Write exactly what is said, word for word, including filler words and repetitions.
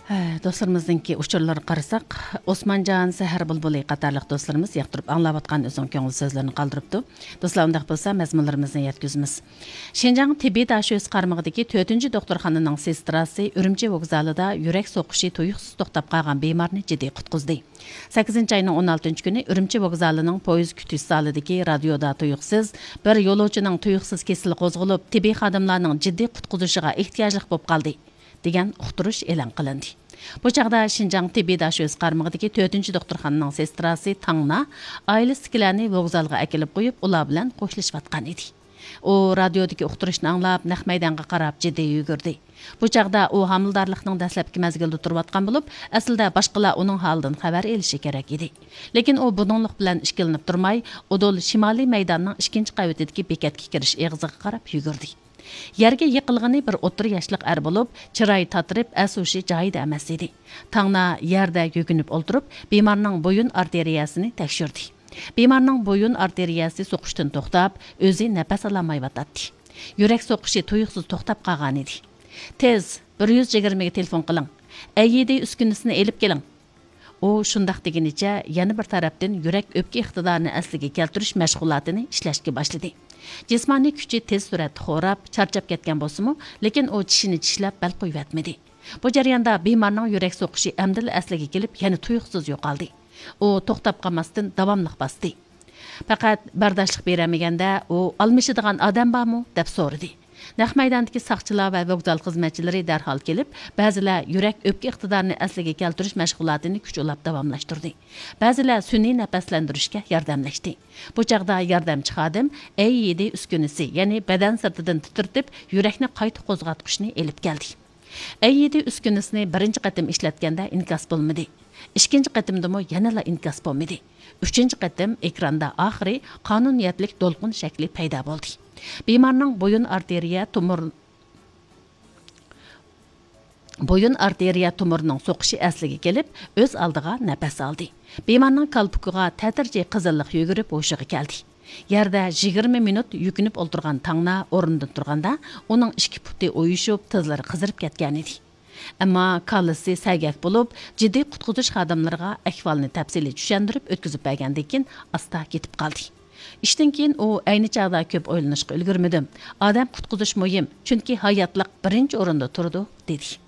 ھە، دوستلىرىمىزنىڭكى ئۇچۇرلىرىغا قارىساق، ئوسمانجان، سەھەر بۇلبۇلى قاتارلىق دوستلىرىمىز ياقتۇرۇپ ئاڭلاۋاتقان ئۆزىنىڭ كۆڭۈل سۆزلىرىنى قالدۇرۇپتۇ. دوستلار، ئۇنداق بولسا مەزمۇنلىرىمىزنى يەتكۈزىمىز. شىنجاڭ تېببىي داشۆسى قارمىقىدىكى تۆتىنچى دوختۇرخانىنىڭ سېستراسى ئۈرۈمچى ۋوگزالىدا يۈرەك سوقۇشى تۇيۇقسىز توختاپ قالغان بىمارنى جىددىي قۇتقۇزدى. سەككىزىنچى ئاينىڭ ئون ئالتىنچى كۈنى ئۈرۈمچى ۋوگزالىنىڭ پويىز كۈتۈش زالىدىكى رادىيودا تۇيۇقسىز بىر يولۇچىنىڭ تۇيۇقسىز كېسىلى قوزغىلىپ، تېببىي خادىملارنىڭ جىددىي قۇتقۇزۇشىغا ئېھتىياجلىق بولۇپ قالدى، دېگەن ئۇقتۇرۇش ئېلان قىلىندى. بۇ چاغدا شىنجاڭ تېببىي داشۆسى قارمىقىدىكى تۆتىنچى دوختۇرخانىنىڭ سېستراسى تاڭنا ئائىلىسىدىكىلەرنى ۋوگزالغا ئەكېلىپ قويۇپ، ئۇلار بىلەن خوشلىشىۋاتقان ئىدى. ئۇ رادىيودىكى ئۇقتۇرۇشنى ئاڭلاپ، نەق مەيدانغا قاراپ جىددىي يۈگۈردى. بۇ چاغدا ئۇ ھامىلىدارلىقنىڭ دەسلەپكى مەزگىلىدە تۇرۇۋاتقان بولۇپ، ئەسلىدە باشقىلار ئۇنىڭ ھالىدىن خەۋەر ئېلىشى كېرەك ئىدى. لېكىن ئۇ بۇنىڭلىق بىلەن ئىككىلىنىپ تۇرماي، ئۇدۇل شىمالىي مەيداننىڭ ئىككىنچى قەۋىتىدىكى بېكەتكە كىرىش ئېغىزىغا قاراپ يۈگۈردى. يەرگە يىقىلغىنى بىر ئوتتۇرا ياشلىق ئەر بولۇپ، چىرايى تاتىرىپ، ئەس-ھوشى جايىدا ئەمەس ئىدى. تاڭنا يەردە يۆگىنىپ ئولتۇرۇپ، بىمارنىڭ بويۇن ئارتېرىيەسىنى تەكشۈردى. بىمارنىڭ بويۇن ئارتېرىيەسى سوقۇشتىن توختاپ، ئۆزى نەپەس ئالالمايۋاتاتتى. يۈرەك سوقۇشى تۇيۇقسىز توختاپ قالغانىدى. تېز، بىر يۈز يىگىرمىگە تېلېفون قىلىڭ. ئەي يىدى ئۈسكۈنىسىنى ئېلىپ كېلىڭ. ئۇ شۇنداق دېگىنىچە يەنە بىر تەرەپتىن يۈرەك ئۆپكە ئىقتىدارىنى ئەسلىگە كەلتۈرۈش مەشغۇلاتىنى ئىشلەشكە باشلىدى. جىسمانىي كۈچى تېز سۈرئەتتە خوراپ، چارچاپ كەتكەن بولسىمۇ، لېكىن ئۇ چىشىنى چىشلەپ بەل قويۇۋەتمىدى. بۇ جەرياندا بىمارنىڭ يۈرەك سوقۇشى ئەمدىلا ئەسلىگە كېلىپ، يەنە تۇيۇقسىز يوقالدى. ئۇ توختاپ قالماستىن داۋاملىق باستى. پەقەت بەرداشلىق بېرەلمىگەندە، ئۇ ئالمىشىدىغان ئادەم بارمۇ؟ دەپ سورىدى. نەق مەيداندىكى ساقچىلار ۋە ۋوگزال خىزمەتچىلىرى دەرھال كېلىپ، بەزىلەر يۈرەك ئۆپكە ئىقتىدارىنى ئەسلىگە كەلتۈرۈش مەشغۇلاتىنى كۈچ ئۇلاپ داۋاملاشتۇردى. بەزىلەر سۈنئىي نەپەسلەندۈرۈشكە ياردەملەشتى. بۇ چاغدا ياردەمچى خادىم ئەي يىدى ئۈسكۈنىسى، يەنى بەدەن سىرتىدىن تىترىتىپ، يۈرەكنى قايتا قوزغاتقۇچنى ئېلىپ كەلدى. ئەي يىدى ئۈسكۈنىسىنى بىرىنچى قېتىم ئىشلەتكەندە ئىنكاس بولمىدى. ئىككىنچى قېتىمدىمۇ يەنىلا ئىنكاس بولمىدى. ئۈچىنچى قېتىم ئېكراندا ئاخىرى قانۇنىيەتلىك دولقۇن شەكلى پەيدا بولدى. بىمارنىڭ بويۇن ئارتېرىيە تومۇر، بويۇن ئارتېرىيە تومۇرىنىڭ سوقۇشى ئەسلىگە كېلىپ، ئۆز ئالدىغا نەپەس ئالدى. بىمارنىڭ كالپۇكىغا تەتۈرچى قىزىللىق يۈگۈرۈپ ھوشىغا كەلدى. يەردە يىگىرمە مىنۇت يۆگىنىپ ئولتۇرغان تاڭنا ئورنىدىن تۇرغاندا، ئۇنىڭ ئىككى پۇتى ئۇيۇشۇپ، تىزلىرى قىزىرىپ كەتكەنىدى. ئەمما كاللىسى سەگەك بولۇپ، جىددىي قۇتقۇزۇش خادىملىرىغا ئەھۋالنى تەپسىلىي چۈشەندۈرۈپ ئۆتكۈزۈپ بەرگەندىن كېيىن، ئاستا كېتىپ قالدى. ئىشتىن كېيىن ئۇ ئەينى چاغدا كۆپ ئويلىنىشقا ئۈلگۈرمىدىم. ئادەم قۇتقۇزۇش مۇھىم، چۈنكى ھاياتلىق بىرىنچى ئورۇندا تۇرىدۇ، دېدى.